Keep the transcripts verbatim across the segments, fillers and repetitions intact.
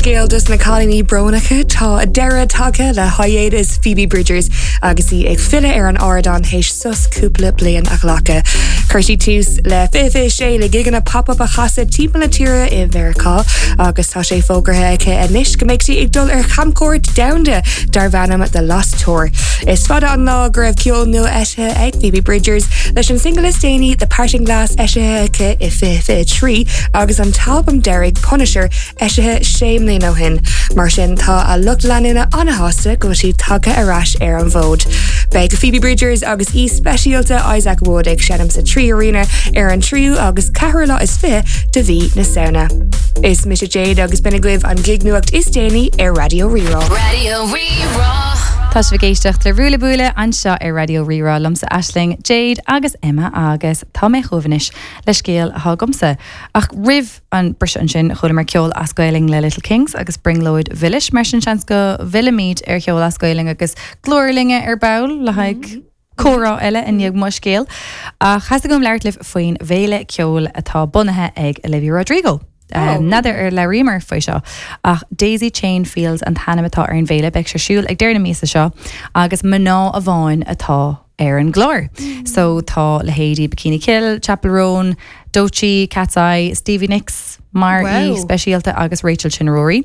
Drochscéal dos na cailíní brónacha tá deireadh tagtha le hiatus Phoebe Bridgers agus í ag filleadh ar an ardán théis sos cúpla bliain a ghlacadh. Chuir sí tús le fiche sé le gigeanna pop-up a chasadh timpeall na tíre i Meiriceá agus tá sé fógartha aici anois go mbeidh sí ag dul ar chamchuairt domhanda darb ainm The Lost Tour. Is fada an lá go raibh ceol nua eisithe ag Phoebe Bridgers leis an single is déanaí The Parting Glass eisithe aici i fiche fiche trí agus an t-albam deiridh Punisher eisithe sé mbliana ó shin. Mar sin tá a lucht leanúna an-sásta go bhfuil sí tagtha ar ais ar an bhfód. Beidh Phoebe Bridgers agus aoi speisialta Isaac Wood ag seinm sa Three Arena ar an tríú agus ceathrú lá is fiche de mhí na Samhna. Is mise Jade agus b'in agaibh an gig-nuacht is déanaí ar Raidió Rí-Rá. Raidió Rí-Rá. Tá sibh ag éisteacht le Ruaille Buaille anseo ar Raidió Rí-Rá liomsa Aisling, Jade agus Emma agus tá mé chomh anois le scéal atá agamsa. Ach roimh an briseadh ansin chualamar ceol as Gaeilge le Little Kings agus Brionglóid Mhilis mar sin seans go bhfillfimid ar cheol as Gaeilge agus glór linge ar ball le haghaidh comhrá eile i ndiaidh mo scéal. Ach theastaigh uaim labhairt libh faoin bhféile ceoil atá bunaithe ag Olivia Rodrigo. Um, N'fheadar ar labhraíomar faoi seo ach Daisy Chain Fields an t-ainm atá ar an bhféile beidh sé ar siúl ag deireadh na míosa seo agus mná amháin atá ar an gclár. Mm. So tá leithéidí Bikini Kill, Chappell Roan, Doechii, Katseye, Stevie Nicks, mar Wow. aoi speisialta agus Rachel Chinouriri.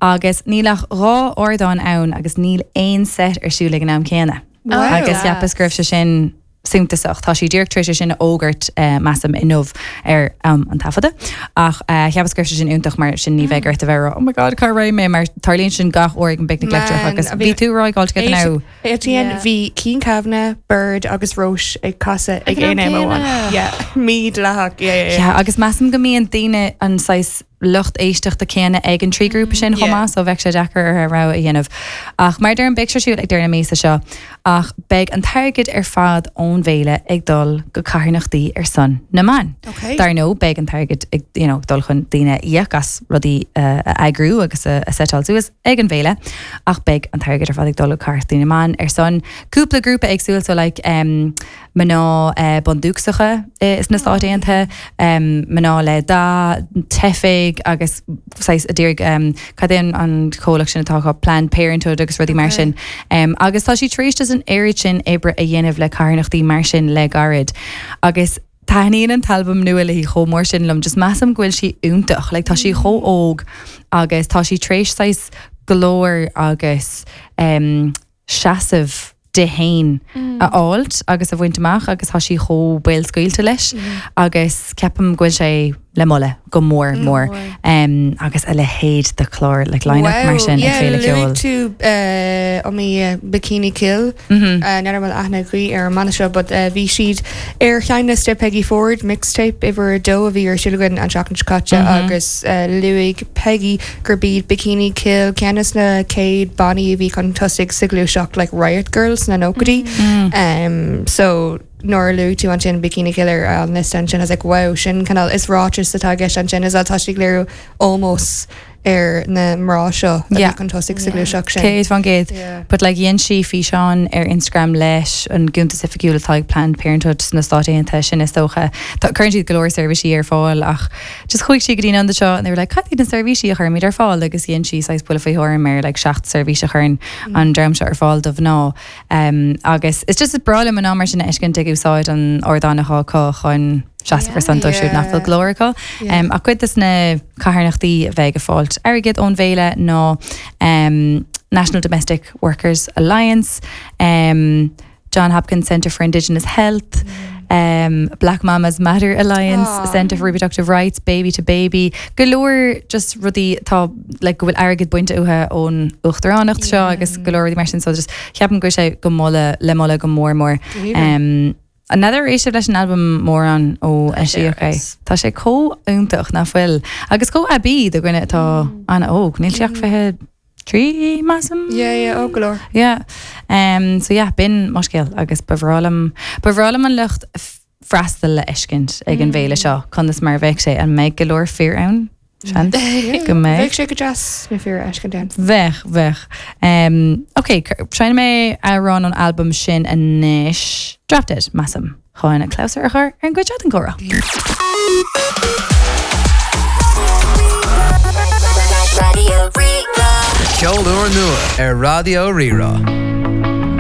Agus níl ach dhá ardán ann agus níl aon set ar siúl ag an am céanna. Wow. Agus cheapas go raibh sé sin suntasach Tá sí díreach tar éis sin a fhógairt uh, measaim inniu ar um, an taifeadadh ach uh, cheapas go raibh sé sin iontach mar sin ní bheidh ort a bheith oh my god cá raibh mé mar tarlaíonn sin gach uair ag an bPicnic Leictreach Man, agus a bhí bhí- tú rá gáil now. Etienne Yeah. bhí Cian Kavanagh, Bird agus Róis ag casadh ag Ag an aon am am amháin. céanna. Yeah, mídhleathach. Yeah, yeah, yeah. Yeah, agus measaim go mbíonn daoine an saghas lucht éisteachta céanna ag an trí grúpa sin Yeah. chomh maith, so bheadh sé deacair ar rogha a dhéanamh. Ach mar deirim beidh sé ar siúl ag deireadh na míosa seo, ach beidh an t-airgead ar fad ón bhféile ag dul go carthanachtaí ar son na mban. Okay. Dar ndóigh beidh an t-airgead ag you know, dul chun daoine íoc as rudaí uh, a eagrú agus a, a setáil suas ag an bhféile, ach beidh an t-airgead ar fad ag dul go carthanachtaí na mban ar son cúpla grúpa éagsúil so like um, mná uh, bundúchasacha uh, sna Stáit Aontaithe, um, mná le dath, teifigh agus saghas a d'iarraidh um, cad é an an comhlacht sin atá acu, Planned Parenthood agus rudaí mar sin. Um, agus tá sí tar éis an oiread sin oibre a dhéanamh le carthanachtaí mar sin le gairid. Agus taitníonn an t-albam nua léi chomh mór sin liom, just measaim go bhfuil sí iontach, like, tá sí chomh óg agus tá sí tar éis saghas glór agus um, seasamh di féin a fháilt agus a bhaint amach agus tá sí chomh béalscaoilte leis agus ceapaim go bhfuil sé le moladh go mór mór um, agus a leithéid de chlár le line-up mar sin ag féile ceoil. Luaigh tú uh, um, uh, Bikini Kill Mhm. uh, n'fheadar bhfuil aithne agaibh ar an mbanna seo, but uh, bhí siad ar sheinnliosta Peggy Ford mixtape uimhir a dó a bhí ar siúl againn an seachtain seo caite Mhm. agus uh, luaigh Peggy gurb iad Bikini Kill ceann de na chéad bannaí a bhí chun tosaigh sa ghluaiseacht like Riot Girls na nóchaidí. Mm. Um, so nuair a luaigh tú ansin Bikini Kill ar an liosta ansin I was like wow sin cineál is ráiteas atá i gceist ansin is tá sí ag léiriú ómós ar na mná seo a bhí Yeah. chun tosaigh sa ghluaiseacht sin. Céad faoin gcéad. Yeah. But like dhein sí físeán ar Instagram leis an gcuntas oifigiúil atá ag Planned Parenthood sna Stáit Aontaithe sin is dócha. Tá cuireann siad go leor seirbhísí ar fáil ach just chuaigh sí go dtí an seo and they were like cad iad na seirbhísí a chuirimid ar fáil agus dhein sí saghas buille faoi thuairim ar like seacht seirbhís a chuireann an dream seo ar fáil do mhná. Um, agus it's just breá liom an mar sin a fheiscint ag úsáid an ardán atá acu chun seasamh ar son dóibh siúd nach bhfuil glór acu. Yeah. Um, ach cuid des na carthanachtaí a bheidh ag fáilt airgead ón bhféile ná um, National Domestic Workers Alliance, um, John Hopkins Center for Indigenous Health, um, Black Mamas Matter Alliance, Ah. Center for Reproductive Rights, Baby to Baby, go leor just rudaí tá like, go bhfuil airgead bainte uathu ón uachtaránacht seo agus go leor rudaí mar sin so just ceapaim go bhfuil sé go moladh le moladh go mór mór. Um, N'fheadar ar éist sibh leis an albam mórán ó eisíodh é. Tá sé chomh iontach nach bhfuil. Agus chomh aibí do dhuine atá an-óg, níl sé ach fiche trí measaim? Yeah, yeah, ó go leor. Yeah. Um, so yeah, b'in mo scéal agus ba bhreá liom ba bhreá liom an lucht f- freastal le fheiscint ag an bhféile seo conas mar bheidh sé an mbeidh go leor fir ann Seans go mbeidh. Bheadh sé go deas na fir a fheiscint ann. Bheadh bheadh. Um, ok, seinnfidh mé amhrán ón albam sin anois Drop Dead measaim chun a clabhsúr a chur ar an gcuid seo den gcomhrá. Radio úrnua ar Raidió Rí-Rá.